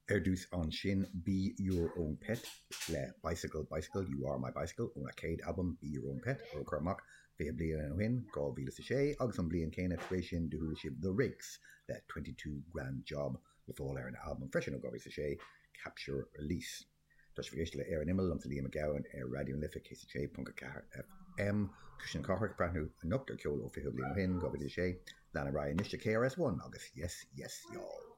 Ar dtús ansin Be Your Own Pet le Bicycle Bicycle You Are My Bicycle óna chéad albam Be Your Own Pet a cuireadh amach 20 bliain ó shin, 2006, agus an bhliain chéanna tar éis sin do chuala sibh The Rakes le 22 Grand Job le fáil ar an albam freisin ó 2006, Capture Release. Tá sibh ag éisteacht le Ar an Imeall, liomsa Liam Mac Gabhann ar Raidió na Life 106.4 FM. Cuisle na Cathrach ag breathnú anocht ar cheol ó 20 bliain ó shin, 2006. Lean ar aghaidh anois le KRS-One agus Yes Yes Y'all.